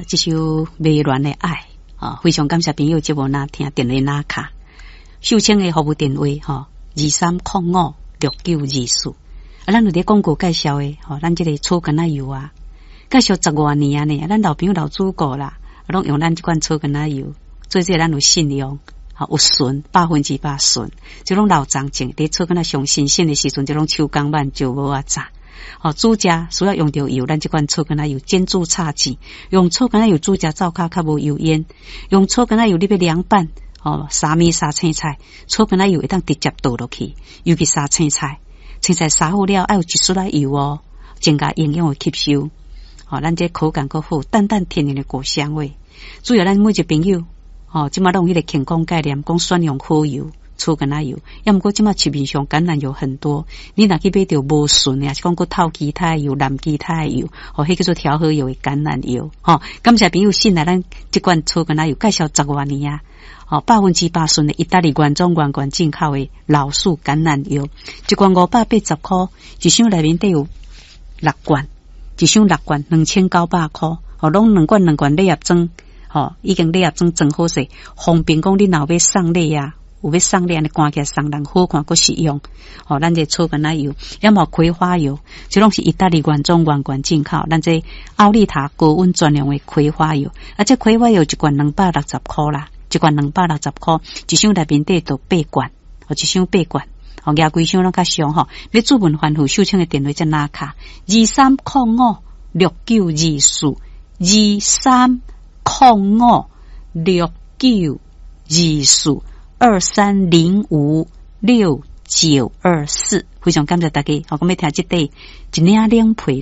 這首迷戀的愛啊，非常感謝朋友節目若聽電話拿卡，秀清的服務電話吼，23056924。啊，咱有佇廣告介紹的吼，咱這個草柑仔油啊，介紹十外年啊呢，咱老朋友老主顧啦，攏用咱這款草柑仔油，做這咱有信用。有純100%純，這攏老欉種，佇草柑仔上新鮮的時陣，這攏手工挽石磨仔榨。吼，煮食需要用著油，咱這款草柑仔油煎煮炒煎，用草柑仔油煮食灶跤較無油煙。用草柑仔油你欲涼拌，吼，沙麵沙青菜，草柑仔油會當直接倒落去，尤其沙青菜，青菜沙好了，愛有一絲仔油哦，增加營養的吸收。吼，咱這口感閣好，淡淡天然的果香味。主要咱每一個朋友。吼，這馬攏有彼個健康概念，講選用好油，草柑仔油。抑毋過這馬市面上橄欖油很多，你若去買著無純的，抑是講閣透其他油、濫其他的油，吼，彼叫做調和油的橄欖油。吼，感謝朋友信賴咱這款草柑仔油，介紹十外年啊。吼，100%純的意大利原裝原罐進口的老樹橄欖油，一罐580箍，一箱內面底有六罐，一箱六罐2900箍，吼，攏兩罐兩罐禮盒裝。吼，已經禮盒裝裝好勢，方便講你若有欲送禮啊，有欲送禮按呢趕起來送人好看閣實用。吼，咱這草柑仔油，抑嘛葵花油，這攏是意大利原裝原罐進口。咱這奧利塔高溫專用的葵花油，啊，這葵花油一罐260箍啦，一罐260箍，一箱內面底就八罐，吼，一箱八罐，吼，舉規箱攏較俗吼。欲諮問番號，秀清的電話才拿卡，23056924，23056924，23056924，非常感謝大家，好，我欲聽這塊一領冷被。